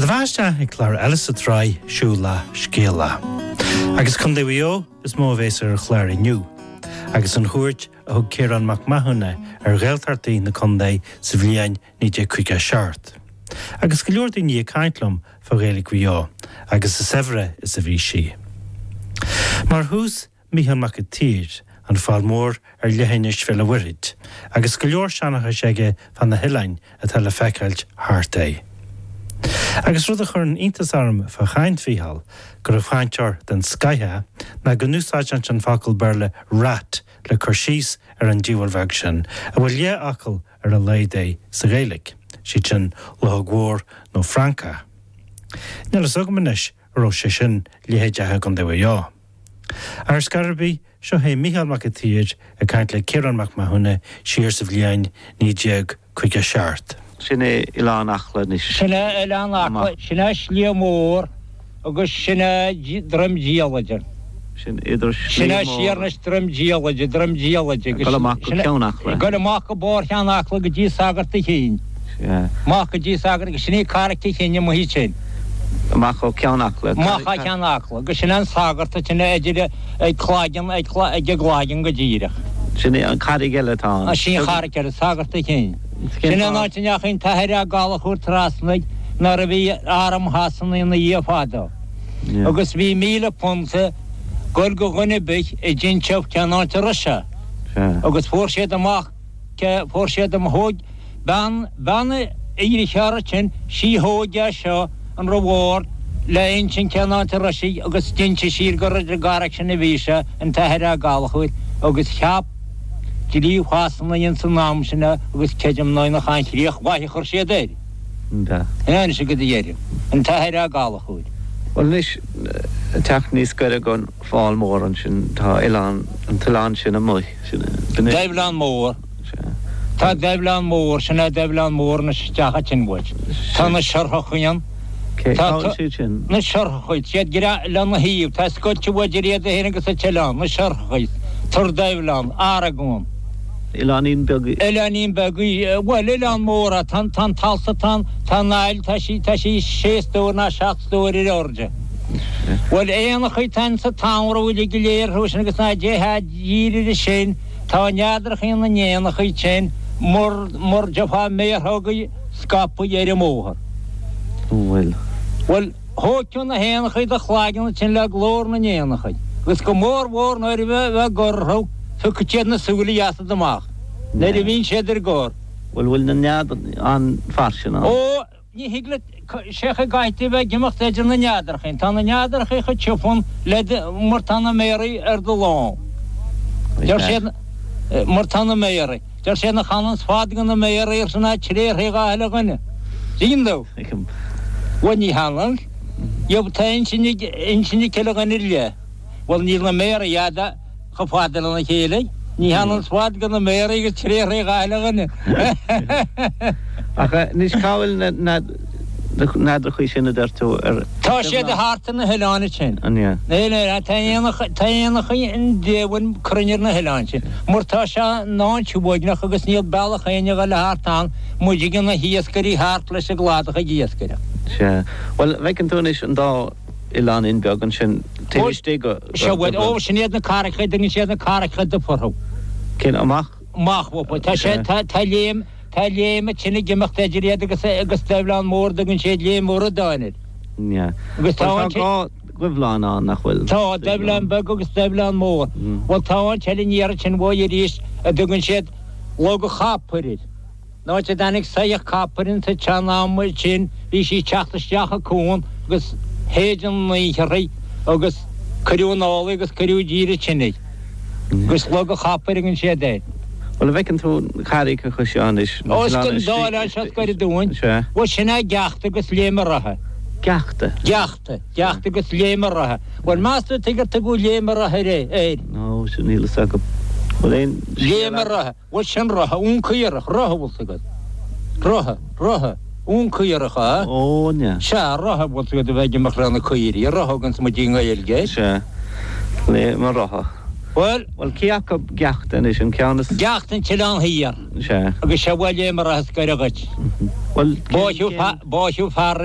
Sé do bheatha isteach ag clár eile sa tsraith Siúl le Scéala. Agus Contae Mhaigh Eo is mó a bhéas ar an chlár inniu, agus an chuairt a thug Ciarán Mac Mathúna ar Ghaeltachtaí na contae sa bhliain 1957. Agus go leor daoine ag caint liom fá Ghaeilge Mhaigh Eo agus a saibhre is a bhí sí. Mar thús, Mícheál Mac an tSaoir, an Fál Mór ar leithinis Bhéal an Mhuirthead, agus go leor seanchais aige fá na hoileáin atá le feiceáilt thart air. Agus rud a chuireann iontas orm fá chaint Mhícheáil, gur chainteoir den scoith é, ná go n-úsáideann sé an focal Béarla rat le cur síos ar an diabhal bheag sin, a bhfuil leathfhocal ar a laghad é sa Ghaeilge, siad sin luchóg mhór nó francach. Níl fhios agam anois an raibh sé sin leithéideach i gContae Mhaigh Eo. Ar scor ar bith, seo é Mícheál Mac an tSaoir ag caint le Ciarán Mac Mathúna siar sa bhliain 1957. Sin é Oileán Acla anois. Sin é Oileán Acla, sin é Sliabh Mór agus sin é Droim Diallaide. Sin idir Sliabh Mór. Sin é siar anois Droim Diallaide, Droim Diallaide. Ag dul amach go Ceann Acla. Ag dul amach go barr Cheann Acla go dtí Sagart a' Chinn. Sea. Amach go dtí Sagart, agus sin í Carraic a' Chinn amuigh ansin. Amach ó Cheann Acla. Amach ó Cheann Acla, agus sin é an Sagart ansin idir ag Claigeann, ag an gClaigeann go díreach. Sin í an charraig eile atá ann. Sin an charraig eile, Sagart a' Chinn. Sin an áit a ndeachaigh an tAthair Ó Gallchóir trasna nuair a bhí arm Shasana ina dhiaidh fadó. Agus bhí £1,000 ag goil go dhuine ar bith a d'inseodh cén áit a raibh sé. Agus fuair siad amach cé, fuair siad am, thóg bean, bean a dheartháir ansin, sí thóg é seo an reward le insint cén áit a raibh sé agus d'inis sí gur ar an gcarraig sin a bhí sé, an tAthair Ó Gallchóir, agus cheap dlí Shasana ins an am sin é agus creidim ná nach aon chríoch mhaith a chuir siad air. Anois go deireadh, an tAthair Ó Gallchóir. Bhuel anois, ag teacht níos gaire gon Fál Mór ansin, tá oileán, an t-oileán sin amuigh, sin, sin é. Doibhleán Mór. Sea. Tá Doibhleán Mór, sin é Doibhleán Mór anois isteach ansin uait. Tá na Siorthachaí ann. Cé, cá bhfuil siad sin? Na Siorthachaí, siad lena thaobh, tá scoilt uait idir iad féin agus an t-oileán, na Siorthachaí, Tor Doibhleán, Argón. Oileáinín beag í. Oileáinín beag í, bhuel, oileán mór é, tá an t-alt, tá an, tá an aill, tá sí, tá sí sé stór ná seacht stór ar airde. Bhuel, éanachaí atá insa tsamhradh uilig go léir orthu sin agus ná déarfá díreach sin, tá neadrachaí na n-éanachaí sin mar, mar déarfá méarthógaí scaipthe ar an mbóthar. Bhuel. Bhuel, thóig tú na héanachaí do chlaigeann ansin le glór na n-éanachaí, agus go mór mhór nuair a bheith gor orthu, phiocfaidh siad na súile asat amach, nuair a bhíonn siad ar gor. Bhuel, bhfuil na nead an-fhairsing ann? Ó, ní thig leat, sé chaoi gcaithfidh tú bheith ag imeacht idir na neadrachaí. Tá na neadrachaí chomh tiubh le do, mar tá na méaraí ar do lámh. Deir siad, mar tá na méaraí. Deir siad nach fhananns fad go na méaraí arsa ná tréarthaí dhá thuile dhuine. Tuigeann tú? Tuigim. Bhuel ní hanann. Gheobhaidh tú intinn ag intinn ag chuile dhuine ar leith. Bhuel níl na méaraí fhada chomh fada lena chéile. Ní hananns fad go na méaraí agus tréarthaí dhá thuile dhuine. Ach anois cá bhfuil na neadrachaí sin a deir tú ar. Tá siad thart ar na hoileáin ansin. An ea? Na hoileáin, tá éanacha, tá éanachaí an diabhail cruinn ar na hoileáin sin. Mar tá sé an-uaigneach agus níl bealach éinne a dhul thart ann, muid ag na hiascairí thart leis an gcladach ag iascaireacht. Sea. Bhuel, bhfeiceann tú anois an dá oileáinín beag ansin taobh istigh go. Sea, bhuel, ó, sin iad na carraigeacha, dtugann siad na carraigeacha dubha orthu. Cén amach? Amach uathu. Tá sé, tá, tá léim, tá léim ansin ag imeacht idir iad agus, agus Doibhleán Mór, dtugann siad Léim Mhuireadáin air. Yeah. Agus tá Bhuel, tá dhá dhuibhleán ann, nach bhfuil? Tá, Doibhleán Beag agus Doibhleán Mór. Bhuel, tá áit eile aniar ansin uaidh arís a dtugann siad Log an Chapair air. An áit a dtáinig soitheach capair ins an tsean-am sin bhí sí ag teacht isteach an cuan agus shéid an oíche uirthi agus cuireadh anall í agus cuireadh i dtír ansin í. Agus Log an Chapair a thugann siad air. Bhuel, an bhfeiceann tú na carraigeacha seo anois? Ó, is an dá oileán seo is gaire dúinn. Sea. Bhuel, sin é Geachta agus Léim a' Rotha. Geachta? Geachta. Geachta agus Léim a' Rotha. Bhuel, meas tú tuige ar tugadh Léim a' Rotha air? Nó, sin, níl fhios agam. Bhfuil aon scéal Léim a' Rotha. Bhuel, sin rotha ón caorach, rotha, bhfuil 's agat. Rotha, rotha, ón caorach, a? Ó, an ea? Sea, rotha, bhfuil 's agat a bheith ag imeacht le na caoirigh, rotha thuganns muid i nGaeilge air. Sea, Léim a' Rotha. Bhuel. Bhuel, cé acu Geachta anois, an ceann is. Geachta an t-oileán thiar. Sea. Agus seo bhuel Léim a' Rotha is gaire dhuit. Bhuel, cén. Báitheadh fear.